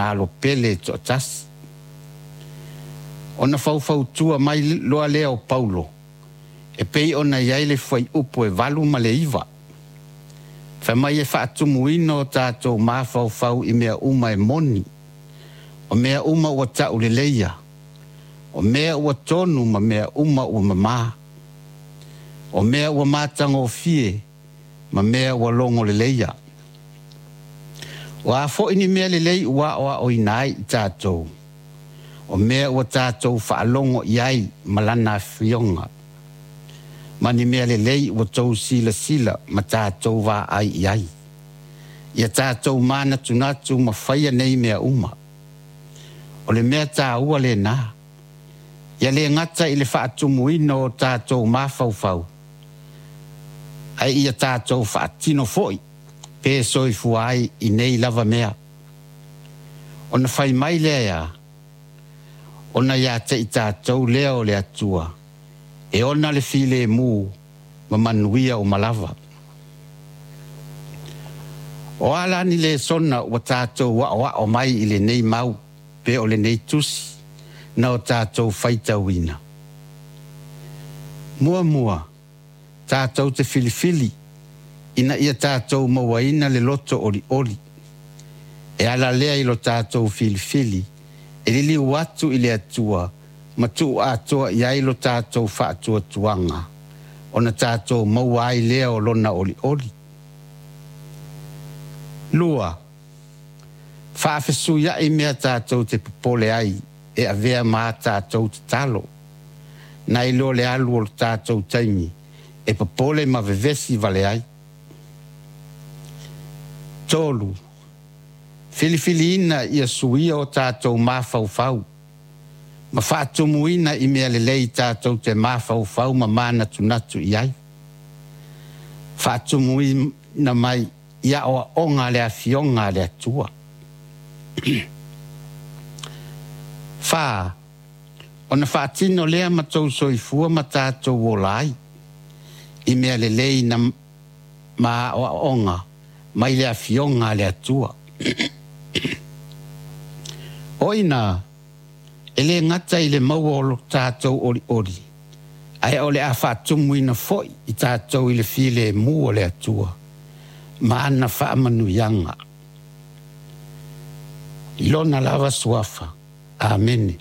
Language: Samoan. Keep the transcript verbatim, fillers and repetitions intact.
lona alo pele e toatasi. Ona faufautua mai loa lea o Paulo e pei ona i ai le fuaiupu e valu ma le iva. Fai mai e faatumuina o tatou mafaufau i mea uma e moni, o mea uma ua tauleleia, o mea ua tonu ma mea uma ua mamā, o mea ua matagofie ma mea ua logoleleia. O a foi ni mea lelei ua aoaoina ai i tatou, o mea ua tatou faalogo i ai ma Lana Afioga, ma ni mea lelei ua outou silasila ma tatou vaai i ai. Ia tatou manatunatu ma faia nei mea uma. O le mea taua lena, ia le gata i le faatumuina o tatou mafaufau, ae ia tatou faatino foi pe soifua ai i nei lava mea. Ona fai mai lea e a? Ona ia te i tatou lea o le Atua, e ona le filemu ma manuia uma lava. O a la ni lesona ua tatou aoao mai i lenei mau pe o lenei tusi na o tatou faitauina? Muamua, tatou te filifili ina ia tatou mauaina le loto olioli. E ala lea i lo tatou filifili e liliu atu i le Atua ma tuu atoa i ai lo tatou faatuatuaga, ona tatou maua ai lea o lona olioli. Lua, faafesuiai mea tatou te popole ai e avea ma a tatou tatalo, nai lo le alu o le tatou taimi e popole ma vevesi vale ai. Tolu, filifiliina ia suia o tatou mafaufau ma faatumuina i mea lelei tatou te mafaufau ma manatunatu i ai. Faatumuina mai i aoaoga a le Afioga a le Atua. Fa, ona faatino lea ma tou soifua ma tatou ola ai i mea lelei na ma aoaoga mai le Afioga a le Atua. O ina, e le gata i le maua o lo tatou olioli, ae o le a faatumuina foi i tatou i le filemu o le Atua ma ana faamanuiaga. I lona lava suafa. Amene.